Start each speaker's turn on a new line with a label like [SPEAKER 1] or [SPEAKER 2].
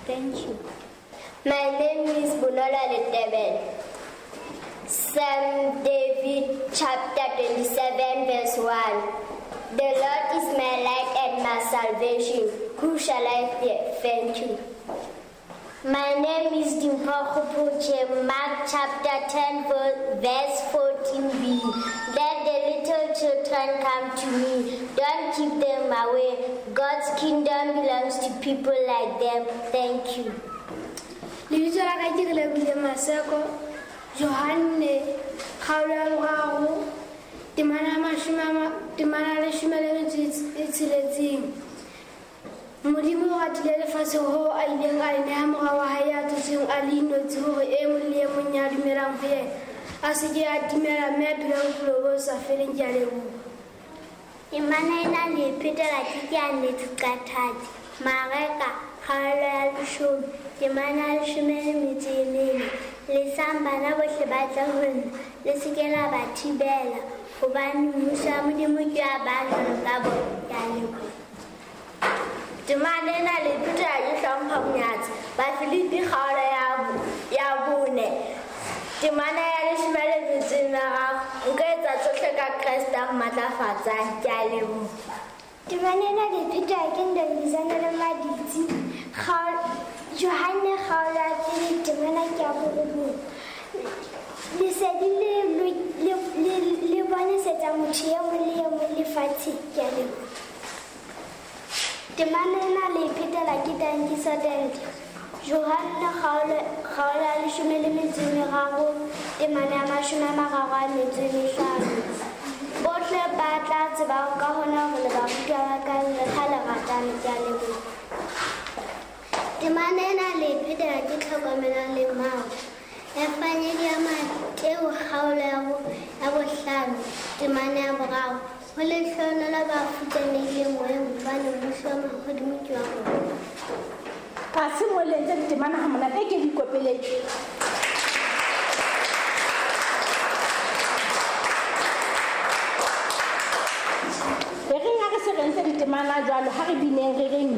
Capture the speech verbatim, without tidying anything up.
[SPEAKER 1] Thank you. My name is Bonola Letebele. Psalm David chapter twenty-seven verse one. The Lord is my light and my salvation. Who shall I fear? Thank you.
[SPEAKER 2] My name is Dimpho Kgopoche. Mark chapter ten verse fourteen b. Let the little children come to me. Don't keep them away. God's kingdom belongs to people like them. Thank you.
[SPEAKER 3] Lebitso la ka ke Relebohile Maseko, Johanne kgaolo ya boraro, temana ya mashome a ma- temana ya leshome le metso e tsheletseng. Modimo o ratile lefatshe hoo a ileng a le neha mora wa hae ya tswetsweng a le inotshi hore e mong le e mong ya dumelang ho yena a se ke a timela mme a phele bophelo bo sa feleng. Ke a leboha.
[SPEAKER 2] Temana ena le e phetela ke ke a Nnete Qathatsi. Mareka kgaolo ya leshome, temana ya leshome le metso e mene. Lesang bana bohle ba tle ho nna, le se ke la ba thibela, hobane mmuso wa Modimo ke wa ba jwalo ka bona. Ke a leboha.
[SPEAKER 1] Temana ena le e phetela ke Hlompho Monyatsi. Bafilipi kgaolo ya bo-, ya bone, temana ya leshome le metso e meraro. Nka etsa tsohle ka Kreste a mmatlafatsang. Ke a leboha.
[SPEAKER 2] Temana ena le e phetela ke Ntombizana le Maditsi. Kgaolo-, Johanne kgaolo ya pele, temana ke ya borobong. Lesedi le lo-, le, le, le bonesetsa motho e mong le e mong lefatsheng. Ke a leboha. Temana ena le e phetela ke Tankiso Tente. Johanne kgaolo, kgaolo ya leshome le metso e meraro, temana ya mashome a mararo a metso e mehlano. Bohle ba tla tseba ka hona hore le barutwa ba ka le ha le ratana. Ke a leboha. Temana ena le e phetela ke Tlhokomelo le Mmao. Evangeli ya Mateo kgaolo ya bo-, ya bohlano, temana ya boraro. Ho lehlohonolo ba futsanehileng moyeng, hobane mmuso wa mahodimo ke wa bona.
[SPEAKER 4] Ha se mo le entse ditemana ha monate, e ke di ikopeletse. E reng ha re se re entse ditemana jwalo, ha re bineng re reng